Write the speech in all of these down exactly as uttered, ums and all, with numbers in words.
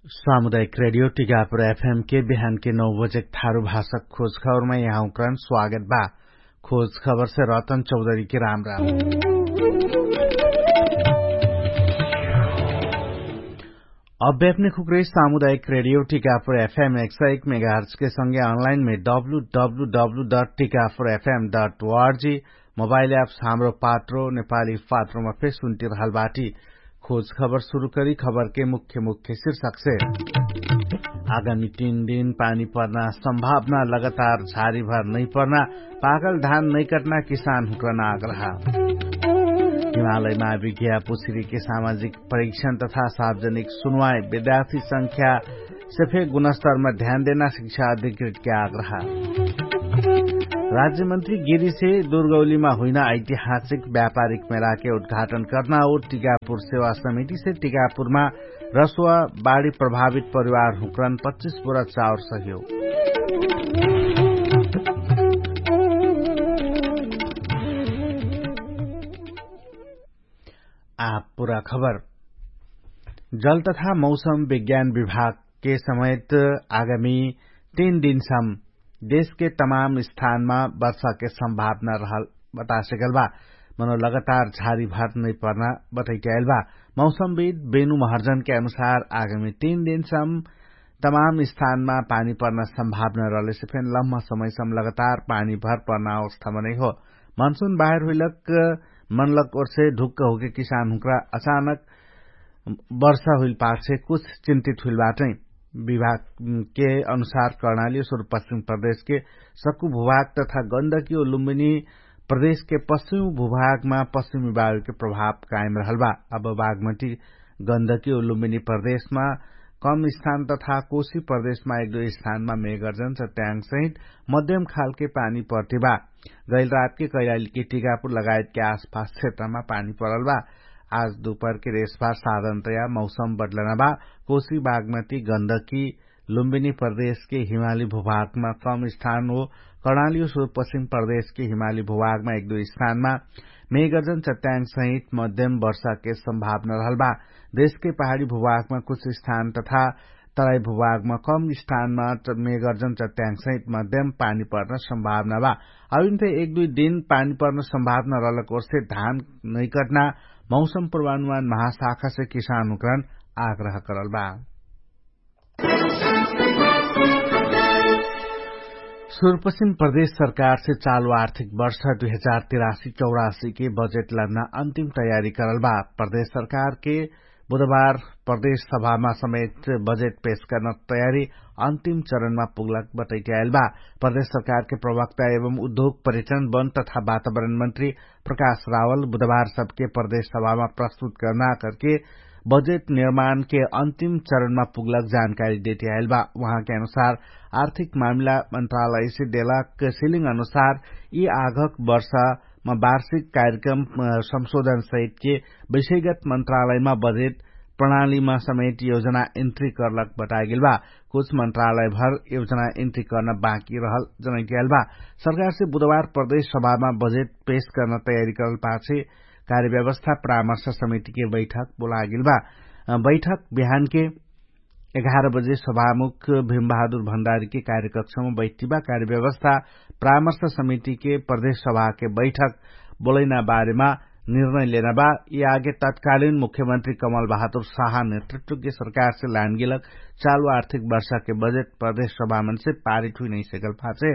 सामुदायिक रेडियो टिकापुर एफएम के बिहान के नौ बजेक थारु भाषक खोज खबरमा यहाँ उक्रान स्वागत बा। खोज खबर से रतन चौधरी के राम राम। अब्यापने खुक्रे सामुदायिक रेडियो टिकापुर एफएम एक सय एक मेगाहर्च के संगे अनलाइन मे W W W dot Tikapur F M dot O R G mobile apps Hamro Patro नेपाली पात्रोमा फेर सुन्टिरहल बाटी। खोज खबर सुरु करी खबरके मुख्य मुख्य शीर्षकसे। आगामी तीन दिन पानी पर्ना सम्भावना लगातार झारी भर नैपर्ना पागल धान नैकट्ना किसान हुक्रना आग्रह। हिमालयमा विज्ञा पुछिरीके सामाजिक परीक्षण तथा सार्वजनिक सुनवाई विद्यार्थी संख्या सेफे गुणस्तरमा ध्यान देना शिक्षा अधिकृतके आग्रह। राज्यमन्त्री गिरीसे दुर्गौलीमा हुइना ऐतिहासिक व्यापारिक मेलाके उद्घाटन कर्ना और टिकापुर सेवा समितिसे टिकापुरमा रसुवा बाढी प्रभावित परिवार हुक्रन पच्चिस बोरा चाउर सहयोग। आ पुरा खबर। जल तथा मौसम विज्ञान विभागके समेत आगामी तीन दिनसम देशके तमाम स्थानमा वर्षाके सम्भावना रहल बतासेगल बा। मनो लगातार झारी भर नैपर्ना बतैट्याइल बा। मौसमविद बेनु महर्जनके अनुसार आगामी तीन दिनसम तमाम स्थानमा पानी पर्ना सम्भावना रहलेसे फेन लम्मा समयसम लगातार पानी भर पर्ना अवस्थामा नैहो। मनसुन बाहेर हुइलक मनलक ओर्से ढुक्क होके किसान हुँक्रा अचानक वर्षा हुइल पार्से कुछ चिन्तित हुइल बाटै। विभागके अनुसार कर्णाली सुरुपश्चिम प्रदेशके सक्कु भुभाग तथा गन्दकी ओ लुम्बिनी प्रदेशके पश्चिम भुभागमा पश्चिमी वायुके प्रभाव कायम रहल बा। अब बागमटी गन्दकी ओ लुम्बिनी प्रदेशमा कम स्थान तथा कोशी प्रदेशमा एक दुई स्थानमा मेघर्जन सत्याङ्ग सहित मध्यम खालके पानी पर्ति बा। गैल रातके कैलालीके टिकापुर लगायतके आसपास क्षेत्रमा पानी परल बा। आज दुपहरके रेसभार साधनतया मौसम बदलना बा। कोशी बागमती गन्दकी लुम्बिनी प्रदेशके हिमाली भुभागमा कम स्थान हो कर्णाली हो सुरुपश्चिम प्रदेशके हिमाली भुभागमा एक दुई स्थानमा मेघर्जन चट्याङ्ग सहित मध्यम वर्षाके सम्भावना रहल बा। देशके पहाडी भुभागमा कुछ स्थान तथा तराई भुभागमा कम स्थानमा मेघर्जन चट्याङ्ग सहित मध्यम पानी पर्न सम्भावना बा। अबिन्थे एक दुई दिन पानी पर्न सम्भावना रहलक ओर्से धान नैकट्ना मौसम पूर्वानुमान महाशाखासे किसान हुँकरन आग्रह करल बा। सुरुपश्चिम प्रदेश सरकारसे चालु आर्थिक वर्ष दुई हजार तिरासी चौरासीके बजेट लन्ना अन्तिम तयारी करल बा। प्रदेश सरकारके बुधबार प्रदेश सभामा समेत बजेट पेश कर्ना तयारी अन्तिम चरणमा पुग्लक बटैट्याएल बा। प्रदेश सरकारके प्रवक्ता एवं उद्योग पर्यटन वन तथा वातावरण मन्त्री प्रकाश रावल बुधबार सबके प्रदेश सभामा प्रस्तुत कर्ना करके बजेट निर्माणके अन्तिम चरणमा पुग्लक जानकारी देट्याएल बा। उहाँके अनुसार आर्थिक मामिला मन्त्रालयसे देलक सिलिङ अनुसार यि आघक वर्षमा वार्षिक कार्यक्रम संशोधन सहितके विषयगत मन्त्रालयमा बजेट प्रणालीमा समेत योजना इन्ट्री कर्लक बटागेल बा। कुछ मन्त्रालयभर योजना इन्ट्री कर्न बाँकी रहल जनैट्याएल बा। सरकारसे बुधबार प्रदेश सभामा बजेट पेश कर्न तयारी करल पाछे कार्यव्यवस्था परामर्श समितिके बैठक बोलागेल बा। बैठक बिहानके एघार बजे सभामुख भीमबहादुर भण्डारीके कार्यकक्षमा बैठिबा। कार्यव्यवस्था परामर्श समितिके प्रदेश सभाके बैठक बोलैना बारेमा निर्णय लेना बा। यि आगे तत्कालीन मुख्यमन्त्री कमल बहादुर साहा नेतृत्वके सरकारसे लानगेलक चालु आर्थिक वर्षाके बजेट प्रदेश सभामनसे पारित हुइनैसेकल पाछे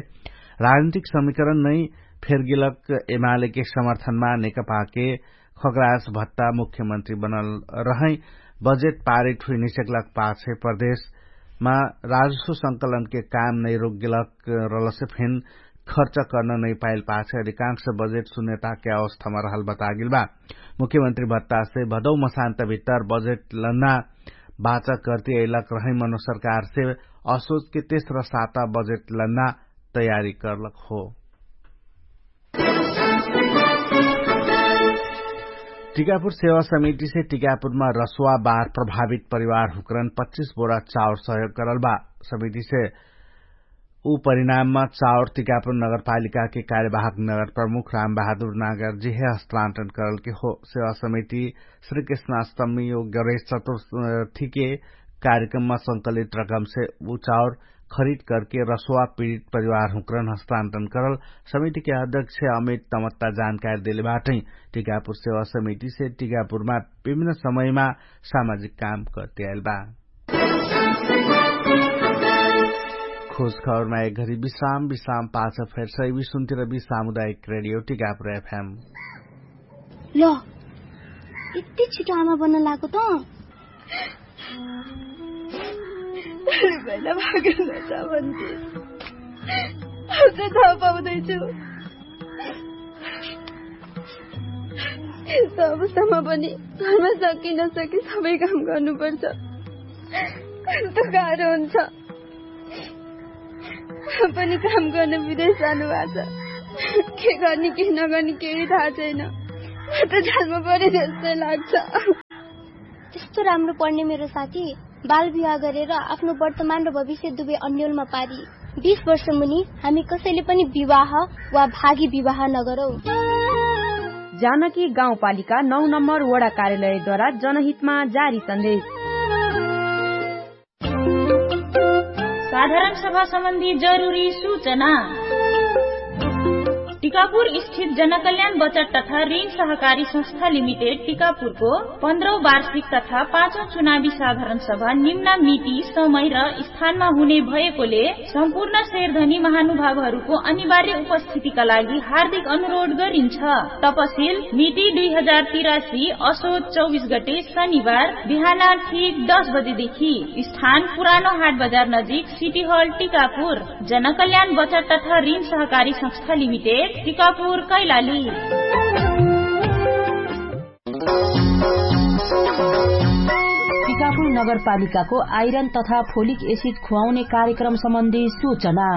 राजनीतिक समीकरण नै फेरगेलक एमालेके समर्थनमा नेकपाके खगराज भट्टा मुख्यमन्त्री बनल रहै। बजेट पारित हुइनैसेकलक पाछे प्रदेशमा राजस्व संकलनके काम नै रोकगेलक रलसे फेन खर्च कर्न नैपाइल पाछे अधिकांश बजेट सुन्यताके अवस्थामा रहल बतागेल बा। मुख्यमन्त्री भत्तासे भदौ मसान्तभित्तर बजेट लन्ना बाचा कर्ति अइलक रहै मनो सरकारसे असोचके तेस्र साता बजेट लन्ना तयारी कर्लक हो। टिकापुर सेवा समितिसे टिकापुरमा रसुवा बार प्रभावित परिवार हुक्रन पच्चिस बोरा चाउर सहयोग करल बा। समितिसे उ परिणाममा चाउर तिकापुर नगरपालिकाके कार्यवाहक नगर प्रमुख रामबहादुर नागरजिहे हस्तान्तरण करलके हो। सेवा समिति श्रीकृष्णाष्टमी यो गणेश चतुर्थीके कार्यक्रममा संकलित रकमसे उ चाउर खरिद करके रसुवा पीडित परिवार हुँक्रन हस्तान्तरण करल समितिके अध्यक्ष अमित तमत्ता जानकारी देले बाटै। टिकापुर सेवा समितिसे टिकापुरमा विभिन्न समयमा सामाजिक काम करते आइल बा। खोज खबरमा एक घरी विश्राम विश्राम पाछ फेर सही विश्वन्तिर विश्राम उदायक रेडियो टिकापुर एफएम। ल, यति छिटो आमा बन्न लागो त? भोलि पहिला भागेर नजा भन्थे। अझै थाहा पाउँदैछु। यस्तो अवस्थामा पनि घरमा सकी नसकी सबै काम गर्नुपर्छ। कस्तो गाह्रो हुन्छ। पनि काम गर्न विदेश जानुभएको छ। के गर्ने के नगर्ने केही थाहा छैन। म त जालमा परे जस्तै लाग्छ। यस्तो राम्रो पढ्ने मेरो साथी बाल विवाह गरेर आफ्नो वर्तमान र भविष्य दुवै अन्यलमा पारी। बिस वर्ष मुनि हामी कसैले पनि विवाह वा भागी विवाह नगरौँ। जानकी गाउँपालिका नौ नम्बर वडा कार्यालयद्वारा जनहितमा जारी सन्देश। साधारण सभा सम्बन्धी जरुरी सूचना। टिकापुर स्थित जनकल्याण बचत तथा ऋण सहकारी संस्था लिमिटेड टिकापुरको पन्ध्रौं वार्षिक तथा पाँचौं चुनावी साधारण सभा निम्न मिति समय र स्थानमा हुने भएकोले सम्पूर्ण शेरधनी महानुभावहरूको अनिवार्य उपस्थितिका लागि हार्दिक अनुरोध गरिन्छ। तपसिल मिति दुई हजार तिरासी असोज चौबिस गते शनिबार बिहान ठिक दस बजेदेखि। स्थान पुरानो हाट बजार नजिक सिटी हल टिकापुर। जनकल्याण बचत तथा ऋण सहकारी संस्था लिमिटेड टिकापुर कैलाली। टिकापुर नगरपालिकाको आइरन तथा फोलिक एसिड खुवाउने कार्यक्रम सम्बन्धी सूचना।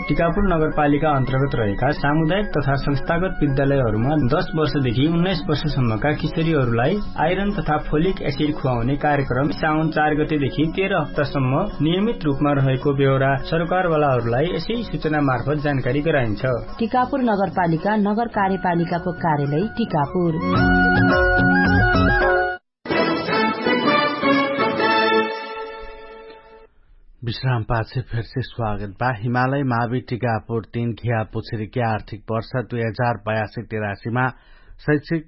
टिकापुर नगरपालिका अन्तर्गत रहेका सामुदायिक तथा संस्थागत विद्यालयहरूमा दस वर्षदेखि उन्नाइस वर्षसम्मका किशोरीहरूलाई आइरन तथा फोलिक एसिड खुवाउने कार्यक्रम साउन चार गतेदेखि तेह्र हप्तासम्म नियमित रूपमा रहेको बेहोरा सरकारवालाहरूलाई यसै सूचना मार्फत जानकारी गराइन्छ। टिकापुर नगरपालिका नगर कार्यपालिकाको कार्यालय टिकापुर। विश्राम पाछे फेरसे स्वागत बा। हिमालय मावि टिकापुर तीन घिया पुछेरीके आर्थिक वर्ष दुई हजार बयासी तेरासीमा शैक्षिक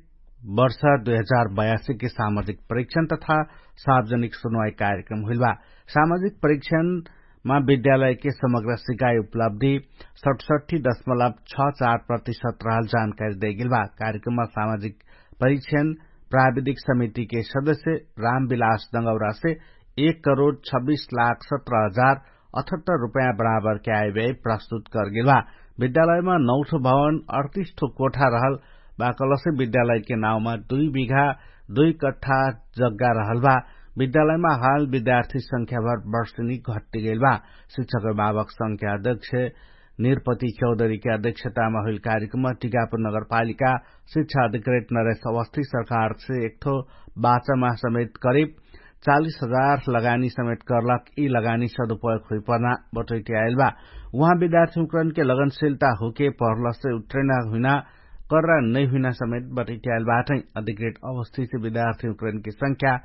वर्ष दुई हजार बयासीके सामाजिक परीक्षण तथा सार्वजनिक सुनवाई कार्यक्रम हुइल बा। सामाजिक परीक्षणमा विद्यालयके समग्र सिकाइ उपलब्धि सठसठी दशमलब छ चार प्रतिशत रहल जानकारी दैगेल बा। कार्यक्रममा सामाजिक परीक्षण प्राविधिक समितिके सदस्य रामविलास दङ्गौरासे एक करोड छब्बिस लाख सत्र हजार अठहत्तर रुपैयाँ बराबरके आइव्याइ प्रस्तुत करगेल बा। विद्यालयमा नौठो भवन अडतिस ठो कोठा रहल बा कलसे विद्यालयके नाउँमा दुई बिघा दुई कट्ठा जग्गा रहल बा। विद्यालयमा हाल विद्यार्थी संख्याभर वर्षनी घट्टिगेल बा। शिक्षक अभिभावक संख्या अध्यक्ष निरपति चौधरीके अध्यक्षतामा हुइल कार्यक्रममा टिकापुर नगरपालिका शिक्षा अधिकृत नरेश अवस्थी सरकारसे एकठो बाचामा समेत करिब चालिस हजार लगानी समेत कर्लक यि लगानी सदुपयोग हुइपर्ना बटोइटियाइल बा। उहाँ विद्यार्थी उक्रनके लगनशिलता हुके पर्लसे उत्रेना हुइना कर्रा नैहुइना समेत बटोइटियाइल बाटै। अधिकृत अवस्थित विद्यार्थी उक्रनके संख्या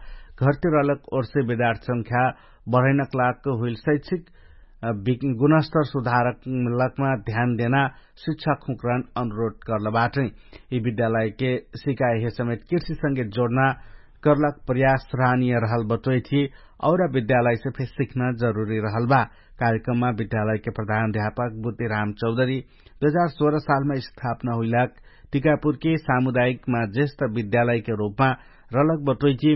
घट्टिरलक ओर्से विद्यार्थी संख्या बढैनक लागक हुइल शैक्षिक गुणस्तर सुधारक लकमा ध्यान देना शिक्षक हुँकरन अनुरोध कर्ल बाटै। यि विद्यालयके सिकाइहे समेत कृषिसँगे जोड्ना कर्लक प्रयास सराहनिय रहल बटोइथी। औरा विद्यालयसे फेर सिख्न जरुरी रहल बा। कार्यक्रममा विद्यालयके प्रधान अध्यापक बुद्धिराम चौधरी दुई हजार सोह्र सालमा स्थापना हुइलाक टिकापुरके सामुदायिकमा जेष्ठ विद्यालयके रूपमा रलक बटोइकी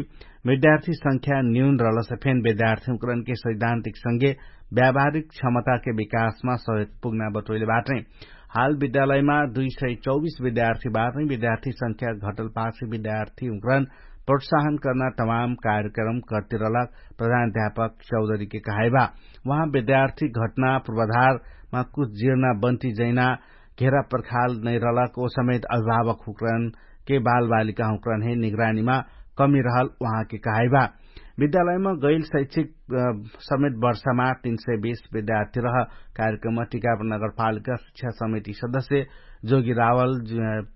विद्यार्थी संख्या न्यून रलसे फेन विद्यार्थी उक्रनके सैद्धान्तिक संगे व्यावहारिक क्षमताके विकासमा सहयोग पुग्ना बटोइले बाटै। हाल विद्यालयमा दुई सय चौबिस विद्यार्थी बाटै विद्यार्थी संख्या घटल पाछे विद्यार्थी उक्रन प्रोत्साहन कर्ना तमाम कार्यक्रम कर्तिरलक प्रधान अध्यापक चौधरीके कहाइबा। उहाँ विद्यार्थी घटना पूर्वाधारमा कुछ जिर्ना बन्ती जैना घेरा पर्खाल नैरलक ओ समेत अभिभावक हुँकरन के बालबालिका हुँकरन हे निगरानीमा कमी रहल उहाँके कहाइबा। विद्यालयमा गैल शैक्षिक समेत वर्षमा तीन सय बीस विद्यार्थी रह कार्यक्रममा टिकापुर नगरपालिका शिक्षा समिति सदस्य जोगी रावल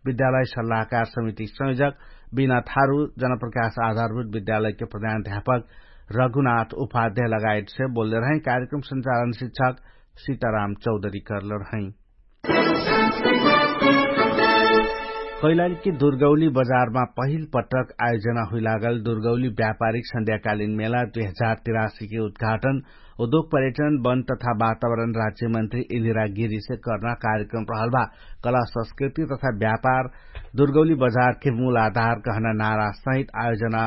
विद्यालय सल्लाहकार समिति संयोजक बिना थारु जनप्रकाश आधारभूत विद्यालयके प्रधान ध्यापक रघुनाथ उपाध्याय लगायतसे बोल्ले रहै। कार्यक्रम संचालन शिक्षक सीताराम चौधरी करले रहै। कैलालीके दुर्गौली बजारमा पहिल पटक आयोजना हुइलागल दुर्गौली व्यापारिक संध्याकालीन मेला दुई हजार तिरासीके उद्घाटन उद्योग पर्यटन वन तथा वातावरण राज्यमन्त्री इन्दिरा गिरीसे कर्ना कार्यक्रम रहल बा। कला संस्कृति तथा व्यापार दुर्गौली बजारके मूल आधार कहना नारा सहित आयोजना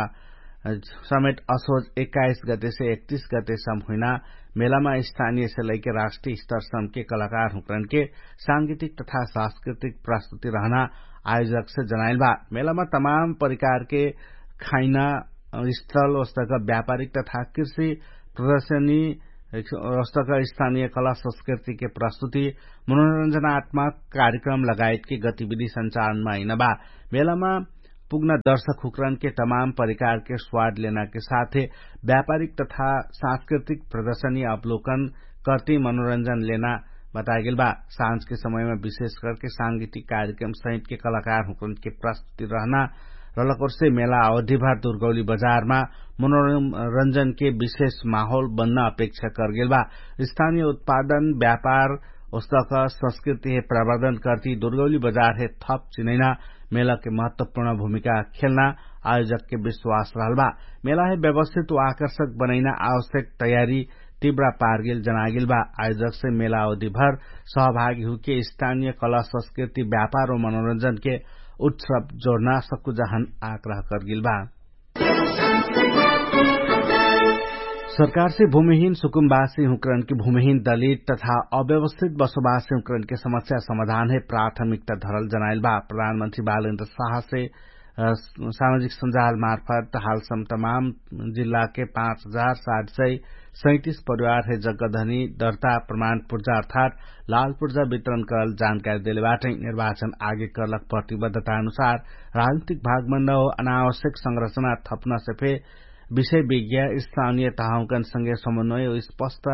समेट असोज एक्काइस गतेसे एकतिस गतेसम हुइना मेलामा स्थानियसे लैके राष्ट्रिय स्तरसमके कलाकार हुँकरनके सांगीतिक तथा सांस्कृतिक प्रस्तुति रहना आयोजकसे जनाइल बा। मेलामा तमाम परिकारके खाइना स्थल ओस्तक व्यापारिक तथा कृषि प्रदर्शनी ओस्तक स्थानिय कला संस्कृतिके प्रस्तुति मनोरञ्जनात्मक कार्यक्रम लगायतके गतिविधि संचालनमा हिन बा। मेलामा पुग्न दर्शक हुँकरनके तमाम परिकारके स्वाद लेनाके साथे व्यापारिक तथा सांस्कृतिक प्रदर्शनी अवलोकन कर्ति मनोरञ्जन लेना बतागेल बा। साँझके समयमा विशेष करके सांगीतिक कार्यक्रम सहितके कलाकार हुँकरनके प्रस्तुति रहना रलकोर्से मेला अवधिभर दुर्गौली बजारमा मनोरञ्जनके विशेष माहौल बन्न अपेक्षा करगेल बा। स्थानिय उत्पादन व्यापार ओस्तक संस्कृतिहे प्रवर्धन कर्ति दुर्गौली बजारहे थप चिनैना मेलाके महत्वपूर्ण भूमिका खेल्ना आयोजकके विश्वास रहल बा। मेलाहे व्यवस्थित वा आकर्षक बनैना आवश्यक तयारी तिब्रा पारगेल जनागेल बा। आयोजकसे मेला अवधिभर सहभागी हुके स्थानिय कला संस्कृति व्यापार वा मनोरञ्जनके उत्सव जोर्ना सक्कु जहन आग्रह करगेल बा। सरकारसे भूमिहीन सुकुम्बासी हुँकरनके भूमिहीन दलित तथा अव्यवस्थित बसोबासी हुँकरनके समस्या समाधानहे प्राथमिकता धरल जनाइल बा। प्रधानमन्त्री बालेन्द्र साहसे सामाजिक सञ्जालमार्फत हालसम तमाम जिल्लाके पाँच हजार सात सय सैतिस परिवारहे जग्गधनी दर्ता प्रमाण पुर्जा अर्थात् लाल पुर्जा वितरण करल जानकारी देलेबाटै। निर्वाचन आगे करलक प्रतिबद्धता अनुसार राजनीतिक भागमण्डल अनावश्यक संरचना थप्नसे फे विषय विज्ञा स्थानिय तहाउँकनसँगे समन्वय स्पष्ट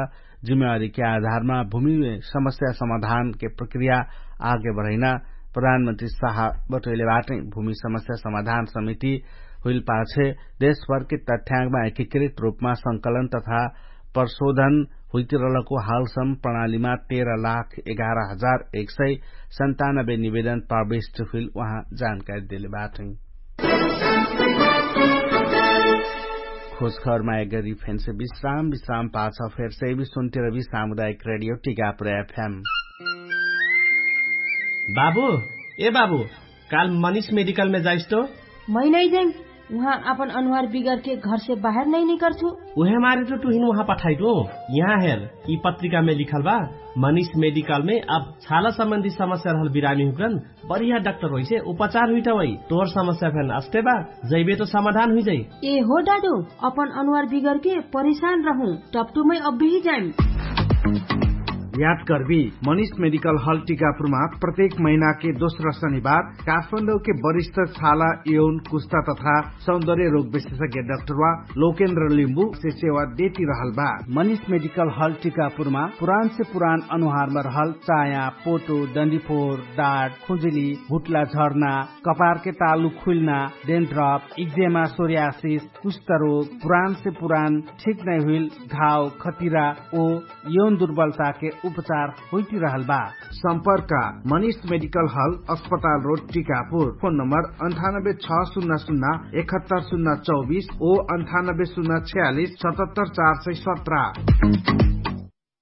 जिम्मेवारीके आधारमा भूमि समस्या समाधानके प्रक्रिया आगे बढैना प्रधानमन्त्री साह बटैलेबाटै। भूमि समस्या समाधान समिति हुइल पाछे देशभरके तथ्याङ्गमा एकीकृत रूपमा संकलन तथा प्रशोधन हुइतिरलको हालसम प्रणालीमा तेह्र लाख एघार हजार एक सय सन्तानब्बे निवेदन प्रविष्ट हुइल उहाँ जानकारी देलेबाटै। खोजखबरमा एक गरी फेन्से विश्राम विश्राम पाछ फेर्से विश्वन्तिर विश्राम उदायक रेडियो टिकापुर एफएम। बाबु, ए बाबु, काल मनिष मेडिकलमे जाइस्तो। मै नै जैम। उहाँ आपन अनुहार बिगरके घरसे बाहेर नै निकर्छु। उहे मारे त तुहिन उहाँ पठाइटो। यहाँ हेर, यि पत्रिकामे लिखल बा। मनिष मेडिकलमे अब छाला सम्बन्धी समस्या रहल बिरामी हुकन बढिया डाक्टर होइसे उपचार हुइटा वै। तोर समस्या फेन अस्ते बा, जैबे त समाधान हुइजै। ए हो दादु, अपन अनुहार बिगरके परिशान रहु। टप्टुमै अब्बेही जाइम। याद कर्बी, मनिष मेडिकल हल टिकापुरमा प्रत्येक महिनाके दोस्रा शनिबार काठमाडौके वरिष्ठ छाला यौन कुस्ता तथा सौन्दर्य रोग विशेषज्ञ डाक्टर वा लोकेन्द्र लिम्बु से सेवा देती रहल बा। मनिष मेडिकल हल टिकापुरमा पुरान से पुरान अनुहारमा रहल चाया, पोटो, डन्डीफोर, डाट, खुजुली, हुट्ला झर्ना, कपारके तालु खुइल्ना, डेन्ड्रप, इक्जेमा, सोर्यासिस, कुष्ठरोग, पुरान से पुरान ठिक नै हुइल घाव खतिरा ओ यौन दुर्बलताके उपचार होइतिरहल बा। सम्पर्क, मनिष मेडिकल हल, अस्पताल रोड, टिकापुर। फोन नम्बर अन्ठानब्बे छ सुन्ना सुन्ना एकहत्तर सुन्ना चौबिस ओ अन्ठानब्बे सुन्ना छ्यालिस सतहत्तर चार सय सत्र।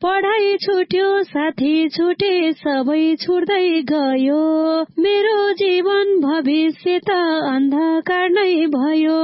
पढाइ छुट्यो साथी छुटे सबै छुट्दै गयो। मेरो जीवन भविष्य त अन्धकार नै भयो।